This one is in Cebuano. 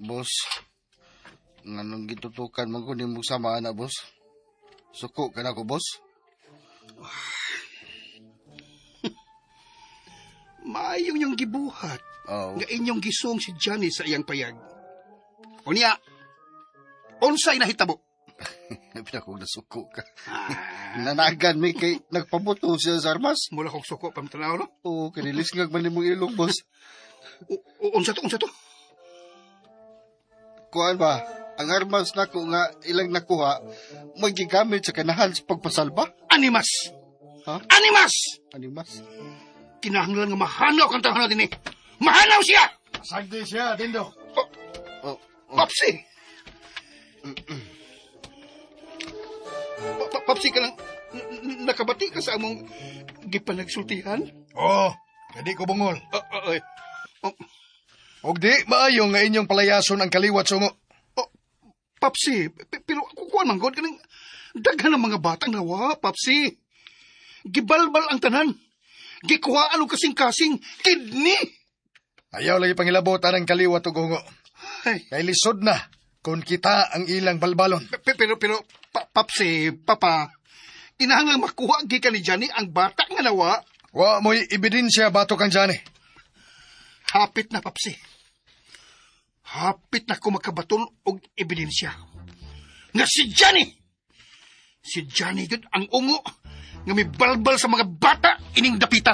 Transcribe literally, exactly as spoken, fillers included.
Boss, nganong gitutukan man ko nimo sama ana, boss? Suko ka na ko, boss? Maayong yung gibuhat. Oh. Nga inyong gisong si Johnny sa iyang payag. Unya, unsay nahitabo? Pinakong nasuko ka. Ah, Nanagan mi kay nagpabuto siya sa armas. mula kong suko pamtanaw, no? Oo, kanilisngag man nimong ilong, boss. O, o, unsa to, unsa to? Kuan ba, ang armas nako nga ilang nakuha, magigamit sa kanahan sa pagpasalba? Animas! Ha? Animas! Animas? Kinahanglan nga mahanaw kang tahanan din eh. Mahanaw siya! Sagdi siya, Dindo. Oh, Oh, oh. Papsi! Pa- pa- Papsi ka lang, n- n- nakabati ka sa among gipanagsultihan? Oo, kadi ko bungol. Ah, ah, ay. Oh, Og di maayo nga inyong palayason ang kaliwat sungo. oh, Papsi, pe- pero kukuan man god kaning daghan ang mga batang nawa, Papsi. Gibalbal ang tanan. Gikuhaan og kasing-kasing kidney. Ayaw lagi pangilabotan ang kaliwat og hungo. Ay, Kay lisod na kung kita ang ilang balbalon. pe- pero pero pa, Papsi, Papa, kinahanglan makuha gikan ni Johnny ang bata nga nawa. Wa mo'y ebidensya bato kang Johnny. Hapit na, Papsi. Hapit na ko makabaton og ebidensya. Nga si Johnny! Si Johnny gud ang ungo nga mibalbal sa mga bata ining dapita.